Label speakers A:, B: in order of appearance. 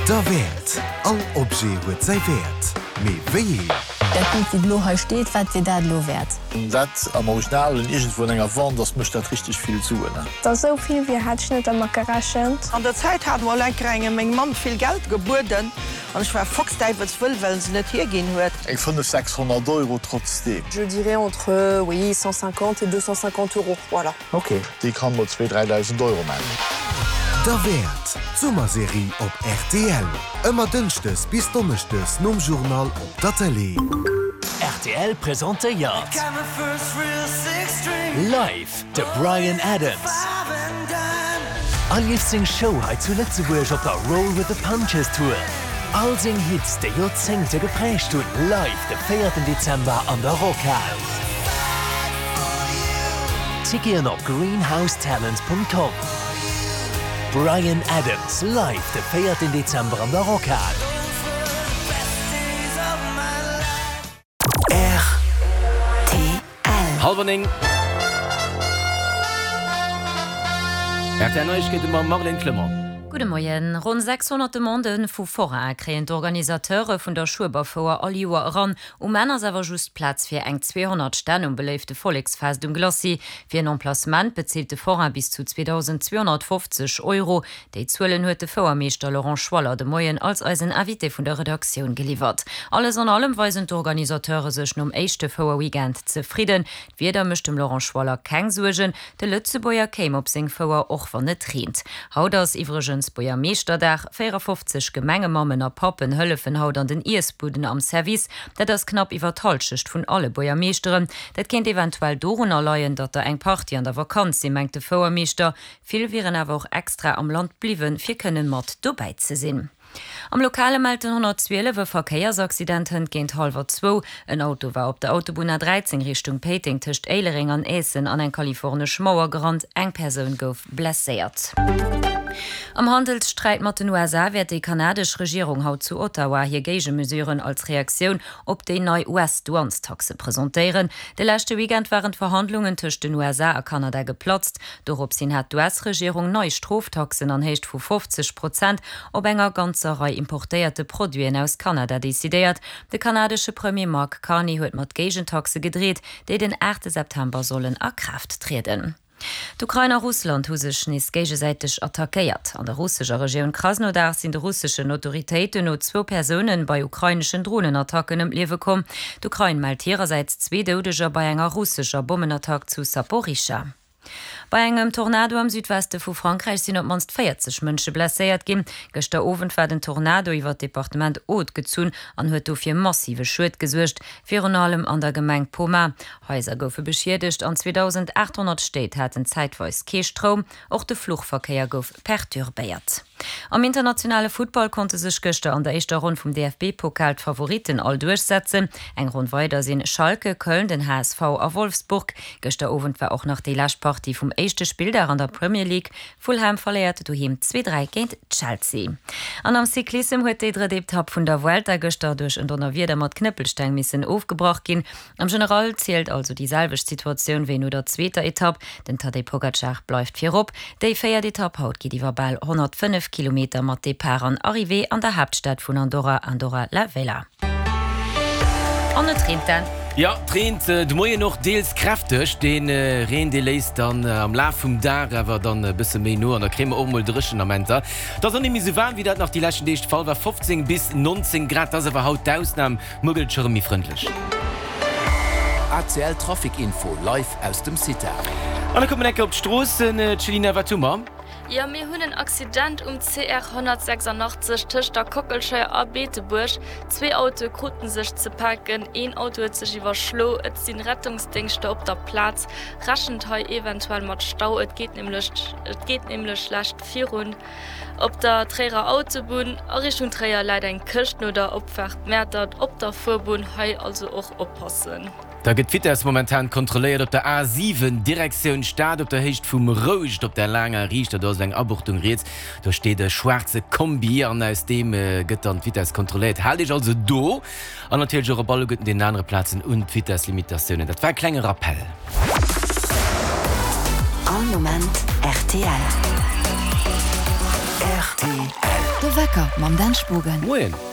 A: Derwäert! All Objet huet säi Wäert, mee wéi een?
B: Dat Bild wou elo hei steet, wat wier dat elo wäert?
C: Dat am Originalen iergendwou an enger Vente ass, mécht dat richteg vill Suen.
D: Dass esou vill wier, hat ech net dermat gerechent.
E: An der Zäit hat mol enker engem meng Mamm vill Geld gebueden an ech war foxdäiwelswëll, well en se net hierginn huet.
C: Eng 5, 600 Euro trotzdeem.
F: Je dirais entre, oui, 150 et 250 euros, voilà.
C: Ok, déi kann mol zwee, 3.000 Euro man.
A: Derwäert, d'Summerserie op rtl. Ëmmer dënschdes bis donneschdes nom Journal op der Tëlee.
G: Rtl presentéiert live de Bryan Adams erlieft seng Show hei zu Lëtzebuerg op der Roll With The Punches Tour. All seng Hits, déi Joerzéngte gepräägt hunn, live de véierten Dezember an der Rockhal. Ticketen op greenhousetalent.com. Bryan Adams live de véierten Dezember an der Rockhal.
A: Rtl.
H: Hallwer 9. Rtl Neiegkeete mam Marlène Clement.
I: Gudde Moien. Ronn 600 Demandë vu Foraine kréien d'Organisateure vun der Schueberfouer all Joer eran. Um Enn ass awer just Plaz fir eng 200 Stänn um beléifte Volleksfest um Glacis. Fir en Emplacement bezilt de Forain bis zu 2.250 Euro. Déi Zuelen huet de Fouermeeschter Laurent Schwaller de Moien als eisen Invité vun der Redaktioun geliwwert. Alles an allem weisen d'Organisateure sech nom éischte Fouerweekend zefridden. D'Wieder mécht dem Laurent Schwaller keng Suergen, de Lëtzebuerger kéim op seng Fouer, och wann et reent. Haut ass iwwregens Buergermeeschterdag. 54 Gemengemammen a Pappen hëllefen haut an den Iessbuden am Service. Dat ass knapp iwwer d'Hallschecht vun alle Buergermeeschteren. Dat kéint eventuell dorunner leien, datt der eng Partie an der Vakanz sinn, mengt de Fouermeeschter. Vill wieren awer och extra am Land bliwwen, fir kënne mat dobäi ze sinn. Am Lokale mellt den 112 e Verkéiersaccident hënt géint hallwer zwou. En Auto war op der Autobunn A13 Richtung Péiteng tëscht Éilereng an Aessen an eng kalifornesch Mauer gerannt. Eng Persoun gouf blesséiert. Am Handelssträit mat den USA wäert déi kanadesch Regierung haut zu Ottawa hir Géigemesuren als Reaktioun op déi nei US-Douanestaxe presentéieren. De leschte Weekend waren d'Verhandlungen tëscht den USA a Kanada geplatzt. Dorops hin hat d'US-Regierung nei Stroftaxen an Héicht vu 50 Prozent op enger ganzer Rei importéierte Produiten aus Kanada decidéiert. De kanadesche Premier Mark Carney huet mat Géigentaxe gedreet, déi den 8 September sollen a Kraaft trieden. D'Ukrain a Russland hu sech nees géigesäiteg attackéiert. An der russescher Regioun Krasnodar sinn de russeschen Autoritéiten no zwou Persoune bei ukraineschen Dronenattacken ëm d'Liewe komm. D'Ukrain mellt hirersäits zwee Doudeger bei enger russescher Bommenattack zu Saporischschja. Bei engem Tornado am Südweste vu Frankräich sinn op d'mannst 40 Mënsche blesséiert ginn. Gëschter Owend war den Tornado iwwer d'Departement Aude gezunn an huet do fir massive Schued gesuergt, virun allem an der Gemeng Pomat. Haiser goufe beschiedegt an 2.800 Stéit haten zäitweis kee Stroum. Och de Fluchverkéier gouf perturbéiert. Am internationale Futtball konnte sech gëschter an der éischter Ronn vum DFB-Pokal d'Favoritten all duerchsetzen. Eng Ronn weider sinn Schalke, Köln, den HSV a Wolfsburg. Gëschter Owend war och nach déi lescht Partie vum éischte Spilldag an der Premier League. Fulham verléiert doheem 2, 3 géint Chelsea. An am Cyclissem huet déi drëtt Etapp vun der Vuelta gëschter duerch en Donnerwieder mat Knëppelsteng missen ofgebrach ginn. Am General zielt also déi selwecht Situatioun wéi no der zweeter Etapp, Den Tadej Pogacar bleift virop. Déi véiert Etapp haut geet iwwer bal 105 Kilometer mat Depart an Arrivée an der Haaptstad vun Andorra, Andorra la Vella. An et reent dann.
H: Jo, et reent de Moien och deels kräfteg. Dee Reen, dee léisst dann am Laf vum Dag awer dann e bësse méi no an da kréie mer och mol dréchen Amenter. Et ass och net méi sou waarm, wéi dat nach déi leschten Deeg de Fall war, 15 bis 19 Grad, dat ass awer haut d'Ausnam. Muer gëtt et scho rëm méi frëndlech.
G: ACL Trafic Info live aus dem CITA.
H: An da kucke mer enke op d'Stroossen. Céline, wat hu mer?
J: Jo, mir hunn en Accident um CR 186 tëscht der Kockelscheier a Beetebuerg. Zwee Autoe kruten sech ze paken, een Auto huet sech iwwerschlo. Et sinn Rettungsdéngschter op der Plaz. Rechent hei eventuell mat Stau, et geet nämlech et geet nämlech schlecht virun. Op der Tréierer Autobunn a Richtung Tréier läit eng Këscht no der Opfaart Mäertert op der Fuerbunn, hei also och oppassen.
H: Da gëtt d'Vitess momentan kontrolléiert op der A7 Direktioun Stad op der Héicht vum Rouscht op der laanger Riichter. Do ass eng Abuchtung riets, do steet e schwaarze Kombi an aus deem gëtt dann d'Vitess kontrolléiert. Haalt Iech also do an natierlech och op alleguerten deenen anere Plazen un d'Vitesslimitatiounen. Dat war e klenge Rappell.
K: All Moment rtl.
A: Rtl.
K: De Wecker mam Dan Spogen.
H: Moien.